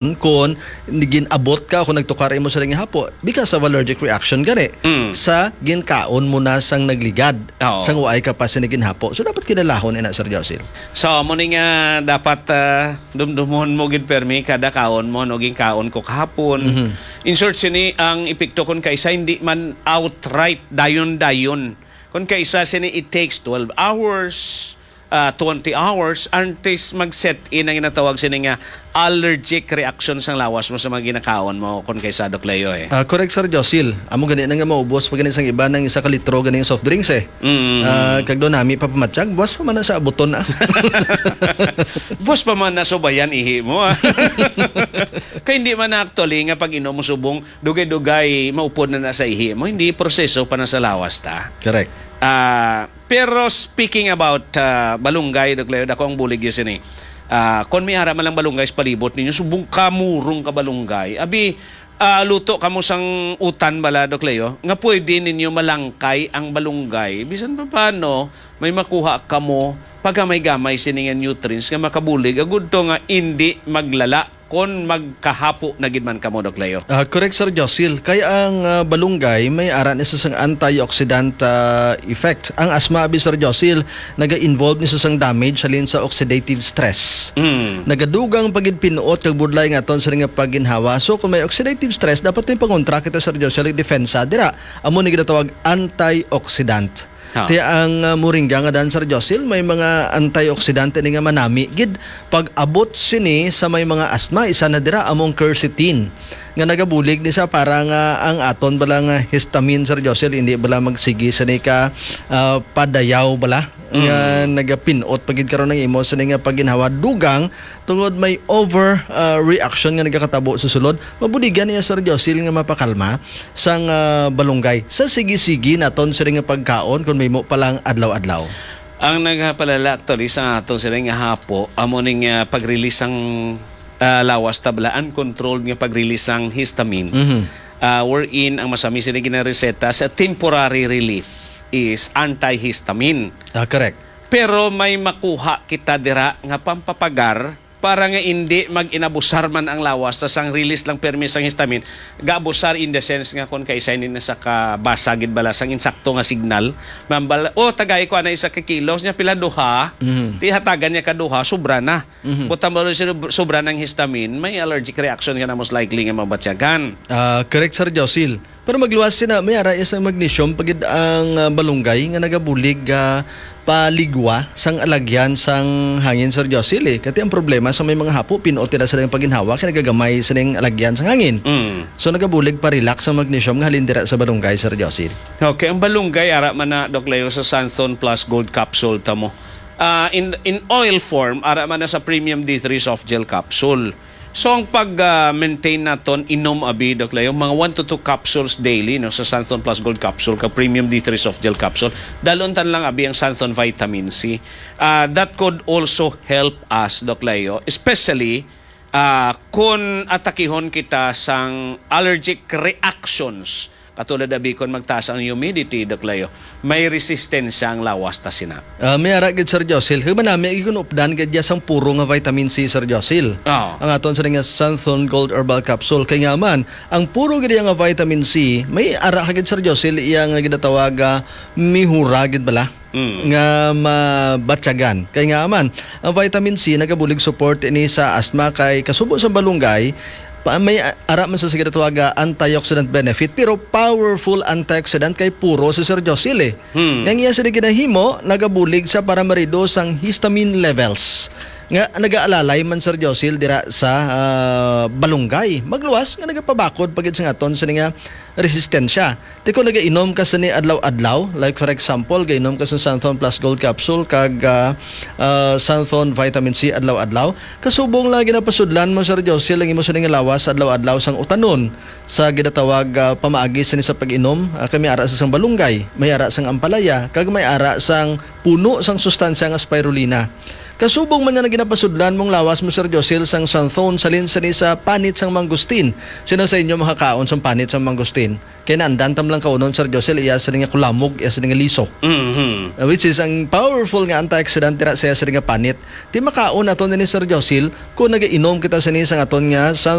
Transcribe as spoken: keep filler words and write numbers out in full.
kon gin-abot ka, kon nagtukar imo sa nga hapo because of allergic reaction gani Mm. sa ginkaon mo na sang nagligad, Oo. sang waay ka pa sini ginhapo. So, dapat kinalahon ina, Sir Josil. So, amo ni nga dapat, ah, dumdumon mo gid permi kada kaon mo, no, ginkaon ko kahapon. Mhm. In short, sini ang epekto kon kaisa hindi man outright dayon-dayon. Kon kaisa sini, it takes twelve hours, ah, twenty hours, antes mag-set in ang ginatawag sini nga allergic reaction sang lawas mo sa mga ginakaon mo, kon kaisa, Doc Leo, eh. Ah, correct, Sir Josil. Amo gani na nga maubos pa gani sang iba ng isa ka litro gani nga soft drinks, eh. Mm. Ah, kag daw nami pa pamatyag, buwas pa man na sa abuton, ah. Buwas pa man na subayan ihi mo, ah. Kay hindi man na actually nga pag-inom mo subong, dugay-dugay maupod na na sa ihi mo, hindi proseso pa na sa lawas ta. Correct. Ah, pero speaking about, ah, balunggay, Doc Leo, dako ang bulig yun sini. Ah, kon may ara man lang balunggay sa palibot ninyo, subong ka murong ka balunggay. Abi, ah, luto kamo sang utan bala, Doc Leo, nga pwede ninyo malangkay ang balunggay. Bisan pa paano, may makuha kamo pagamay-gamay sini nga nutrients nga makabulig. Agud to nga indi maglala kon magkahapo na gid man kamo, Doc Leo. Ah, correct, Sir Josil. Kay ang, ah, balunggay may ara ni sa sang antioxidant, ah, effect. Ang asma, abi, Sir Josil, naga-involve ni sa sang damage halin sa oxidative stress. Mm. Nagadugang pa gid pinuot kag budlay nga aton sa nga pagginhawa. So, kung may oxidative stress, dapat may pangontra kita, Sir Josil, depensa dira. Amo ni ginatawag antioxidant. Ha. Ti ang, ah, moringa nga dan, Sir Josil, may mga antioxidant ini nga manami gid pag-abot sini sa may mga asthma. Isa na dira among quercetin nga nagabulig ni sa para nga ang aton bala nga histamine, Sir Josil, hindi bala magsigi sini ka, ah, padayaw bala nga Mm. nagapinot pa gid karon ang imo sini nga pagginhawa. Dugang tungod may over, ah, reaction nga nagakatabo sa sulod, mabuligan niya, Sir Josil, nga mapakalma sang, ah, balunggay sa sige-sige naton sini nga pagkaon kon mahimo pa lang adlaw-adlaw. Ang nagapalala actually sa aton sini nga hapo, amo ning, ah, pag-release sang, ah, lawas ta bala, uncontrolled nga pag-release sang histamine. Mhm. Ah, wherein ang masami sini ginareseta sa temporary relief is antihistamine. Ah, correct. Pero may makuha kita dira nga pampapagar para nga indi mag-inabusar man ang lawas, tas ang release lang permi sang histamine, gaabusar in the sense nga kon kaisa ini na sa kabasa gid bala sang insakto nga signal, mambal, "Oh, tagay ko ana isa ka kilos niya, pila duha?" Mhm. Ti hatagan niya ka duha, sobra na. Mhm. Buta mo rin sinu-, sobra ng histamine, may allergic reaction ka na most likely nga mabatyagan. Ah, correct, Sir Josil. Pero magluwas sina, may ara sa magnesium pagid ang, ah, balunggay nga nagabulig, ah, paligwa sang alagyan sang hangin, Sir Josil, eh. Kati ang problema sa may mga hapo, pinuot nila sa ilang paginhawa, kay nagagamay sa ning alagyan sang hangin. Mm. So, nagabulig pa relax ang magnesium nga halin dira sa balunggay, Sir Josil. Okay, ang balunggay, ara man na, Doc Leo, sa Santhon Plus Gold Capsule ta mo. Ah, in, in oil form, ara man na sa Premium D three Soft Gel Capsule. So, ang pag, ah, maintain naton, inom abi, Doc Leo, mga one to two capsules daily, no, sa Santhon Plus Gold Capsule, ka Premium D three Soft Gel Capsule. Dalon tan lang abi ang Santhon Vitamin C. Ah, that could also help us, Doc Leo, especially, ah, kun atakihon kita sang allergic reactions. Katulad abi kon magtaas ang humidity, Doc Leo, may resistensya ang lawas ta sina. Ah, may ara gid, Sir Josil. Kay manami gid kun updan gid ya sang puro nga vitamin C, Sir Josil. Oo. Ang aton sa nga Santhon Gold Herbal Capsule. Kay nga man, ang puro gid ya nga vitamin C, may ara ka gid, Sir Josil, iya nga ginatawag, ah, mihura gid bala Mm. nga mabatyagan. Kay nga man, ang vitamin C nagabulig support ini sa asthma kay kasubo sa balunggay, pa, may a-, ara man sa sige tawag, ah, antioxidant benefit, pero powerful antioxidant kay puro si Sir Josil, eh. Hmm. Nga iya sila ginahimo, nagabulig siya para ma-reduce ang histamine levels. Nga nagaalalay man, Sir Josil, dira sa, ah, balunggay. Magluwas nga nagapabakod pa gid sa aton sini nga resistensya. Ti kon nagainom ka sini adlaw-adlaw, like for example, gainom ka sa Santhon Plus Gold Capsule kag, ah, ah, Santhon Vitamin C adlaw-adlaw, kasubong lang ginapasudlan mo, Sir Josil, ang imo sini nga lawas adlaw-adlaw sang utanon sa ginatawag, ah, pamaagi sini sa pag-inom, ah, kay may ara sa sang balunggay, may ara sang ampalaya, kag may ara sang puno sang sustansya nga spirulina. Kasubong man nga ginapasudlan mong lawas mo, Sir Josil, sang santhon, salin sini sa panit sang mangustin. Sino sa inyo makakaon sang panit sang mangustin? Kay naandan tam lang kaunon, Sir Josil, iya sini nga kulamog, iya sini nga liso. Mhm. Uh, which is ang powerful nga antioxidant dira sa iya sini nga panit. Ti makaon naton ini, Sir Josil, kung nagainom kita sini sang aton nga